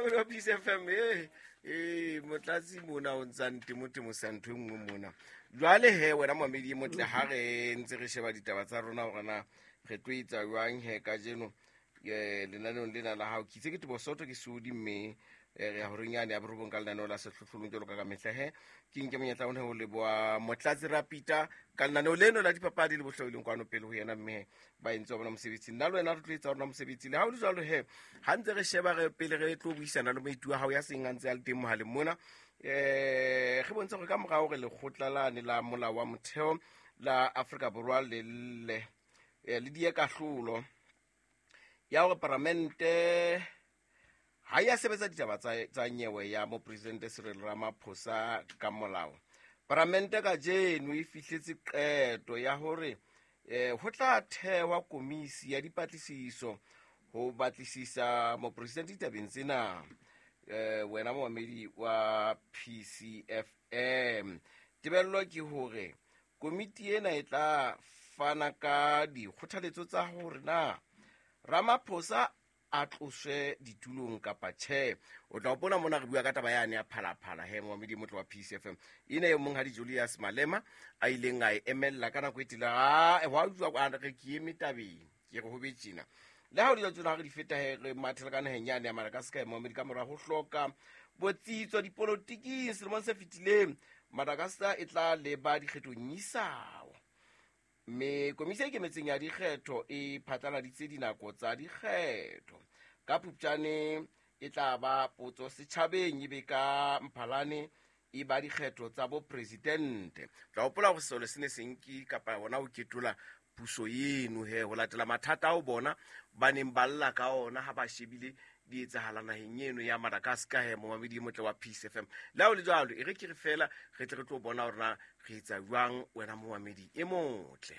Momamedi wa Peace FM, ee motlatsi mona o ntsang temotemo sa ntho e nngwe mona. Jwale he wena momamedi e motle, ha re ntse re sheba ditaba tsa rona hore na re tlo etsa jwang he kajeno lenaneong lena la hao, ke itse ke Tebo Soto ke Sodi, mme re ya horeng yane ya borobong ka lenaneo la sehlohlolong jwalo ka ka mehla. He ke nke monyetla one ho leboha Motlatsi Rapita ka lenaneo leno la dipapadi le bohlaileng kwano pele ho yena, mme ba entse wa bona mosebetsi. Nna le wena re tlo etsa rona mosebetsi. Le ha o le jwalo he, ha ntse re sheba re pele re tlo buisana le moeti wa hao ya seng a ntse a le teng mohaleng mona, re bontshe gore ka mora hore lekgotla lane la molao wa motheo la Afrika Borwa le le le die kahlolo ya hore paramente ha ya sebetsa ditaba tsa nyewe ya mopresidente Cyril Ramaphosa ka molao, paramente kajeno e fihletse qeto ya hore ho tla thehwa komisi ya dipatlisiso ho batlisisa mopresidente ditabeng tsena. Wena momamedi wa PCFM, tebello ke hore komiti ena e tla fana ka dikgothaletso tsa hore na Ramaphosa a tloswe ditulong kapa tjhe. O tla hopola mona re bua ka taba yane ya Phalaphala he, momamedi motle wa PCFM, ena e monghadi Julius Malema a ileng a e emella ka nako e tele. A wa utlwa re ke eme tabeng, ke re ho be tjena. Le ha o le tsona re di feta he, re mathela ka naheng yane ya Madagascar, momamedi, ka mora ho hloka botsitso dipolotiking selemong se fetileng, Madagascar e tla leba dikgethong isao, mme komisi e ikemetseng ya dikgetho e phatlaladitse dinako tsa dikgetho. Ka Phupjane e tla ba potso setjhabeng, ebe ka Mphalane e ba dikgetho tsa bopresidente. Tla hopola hore sesole se ne se nke kapa hona ho ketola puso eno he ho latela mathata ao bona ba neng ba lla ka ona ha ba shebile di etsahala naheng eno ya Madagascar. He momamedi e motle wa Peace FM, le ha o le jwalo, e re ke re fela re tle re tlo bona hore na re etsa jwang, wena momamedi e motle.